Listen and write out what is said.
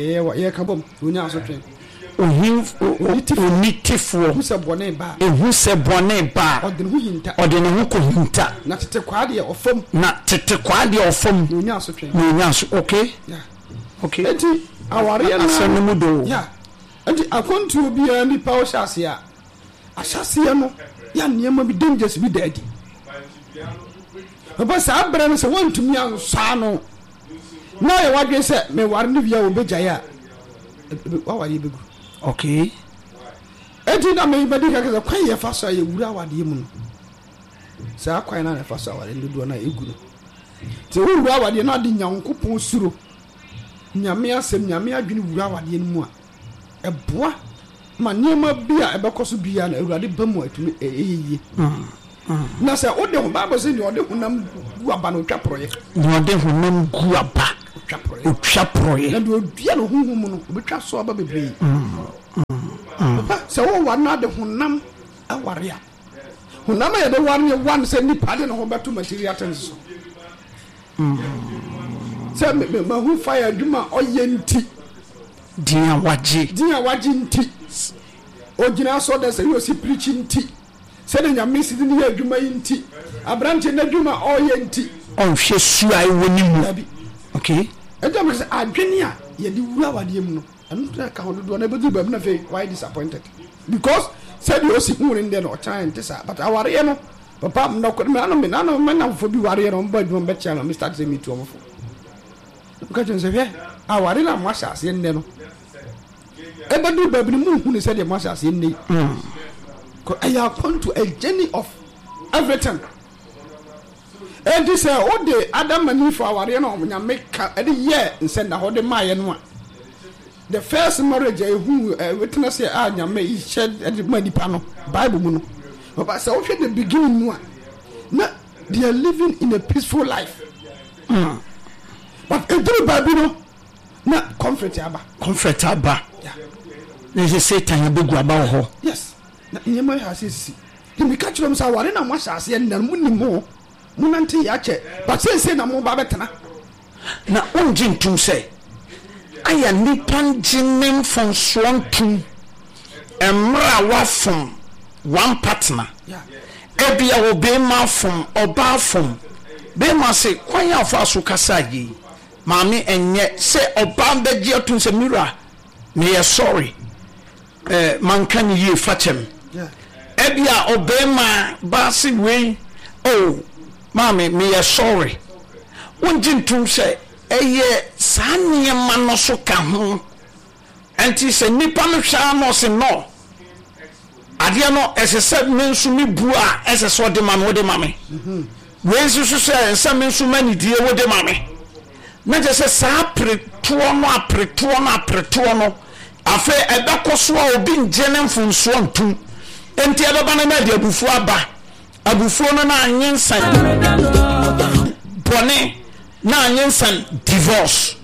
yɛyɛ yɛka bom onya asotwe. Onitefoɔ. Ehu sɛ bɔne ba a. Ehu sɛ bɔne ba a. Ɔde ne ho hinta. Ɔde ne ho kɔhinta. Na tete kwaa deɛ ɔfam. Na tete kwaa deɛ ɔfam. Na onya asotwe. Na onya aso okay. Yeah. Okay. Enti awareɛ no. Asɛm no mu dɔ o. Yeah. Enti akwantuo biara nipa ɔhyɛ aseɛ a, ahyɛaseɛ no yɛ nneɛma bi dangers bi da adi. Papa saa berɛ no sɛ woantumi ansɔ ano na ayɛ w'adwene sɛ meware no wie a wɔbɛgyae a, w'awadeɛ bɛgu. Okay. Enti na mebɛdi ka sɛ kwan yɛfa so a yɛwura awadeɛ mu no, saa kwan no a yɛfa so awadeɛ no dodoɔ no a ɛgu no. Nti wowura awadeɛ no ade Nyankopɔn suro, Nyame asɛm, Nyame adwene wura awadeɛ no mu a, ɛboa ma nneɛma bi a ɛbɛkɔ so biara no Awurade ba mu a ɛtumi ɛyɛ yie. Na sɛ wode ho Bible sɛ deɛ ɔde honam gu aba no ɔtwa porɔeɛ. Deɛ ɔde honam gu aba ɔtwa porɔeɛ. Ɔtwa porɔeɛ. Na deɛ ɔdua no honhom mu no ɔbɛtwa so aba bebree. Papa sɛ woware no ade honam aware a honam a yɛde ware no yɛware no sɛ nipa de ne ho bɛto material things so. Sɛ mahu fire adwuma a ɔyɛ nti. Din a wagye. Din a wagye nti. Ogyina asɔrdan sɛ osi pirikyi nti. Sɛdeɛ Nyame si de no yɛ adwuma yi nti. Aberanteɛ n'adwuma a ɔreyɛ nti. Ɔnhwɛ su a ɛwɔ ne mu. Dabi. Okay. Ɛnti na meka sɛ adwene a yɛde wura awadeɛ mu no, ɛno na ɛka ho dodoɔ no ɛbɛduru baabi na afei wayɛ disappointed. Because sɛdeɛ osi hu no ndɛ no ɔkyena ɛnte saa. But awareɛ no, papa, nɔkorɛ, me ano me nano me nnamfofoɔ bi wareɛ no, wɔn ba adwuma bɛkyea no, me start sɛ metu wɔn fo. Meka kyerɛ no sɛ, Hwɛ, aware no a moahyɛ aseɛ nnɛ no, ɛbɛduru baabi no monhu no sɛdeɛ moahyɛ aseɛ nnɛ yi. Ɛyɛ akwantu, a journey of everything. Enti sɛ wode Adam and Eve awareɛ no a Nyame ka ɛde yɛɛ nsɛnnahɔ de maayɛ no a, the first marriage a ɛhu witness a Nyame hyɛ de ma nipa no, Bible mu no, sɛ wohwɛ the beginning no a, na they are living in a peaceful life. Mm. But ɛduru baabi no na conflict aba. Conflict aba. Yeah. Na ɛsɛ Satan abɛgu aba wɔ hɔ. Yes. Na nneɛma yɛ ase sisi. Nti meka kyerɛ m sɛ aware na moahyɛ aseɛ nnɛ no monim ho. Monante yɛ akyɛ. But seesei na moba bɛtena. Na wongye ntom sɛ ayɛ nnipa ngye ne mfomsoɔ ntom mmerɛ a wafom one partner. Ebia obeema afom, ɔbaa afom. Beema se, kwan a ɔfaa so kasaa yei, maame ɛnyɛ sɛ ɔbaa bɛgye atom sɛ me wura, meyɛ sorry. Eh, manka no yie, fa kyɛ me. Ebia ɔbarima ba se wei, oh, maame, meyɛ sorry. Wongye ntom sɛ ɛyɛ saa nneɛma no so ka ho. Ɛnti sɛ nipa no hwɛ ara na ɔse no, adeɛ no ɛsɛ sɛ me nso me bu a ɛsɛ sɛ ɔde ma me, wode ma me. Wei nso so sɛ ɛsɛ me nso m'anidie wode ma me. Na kyerɛ sɛ saa aperetoɔ no aperetoɔ no aperetoɔ no Afei ɛbɛkɔ so a obi ngye ne mfomsoɔ ntom. Enti ɛbɛba no na ɛde abufuo aba. Abufuo no na anyensan bɔne, na anyensan divorce.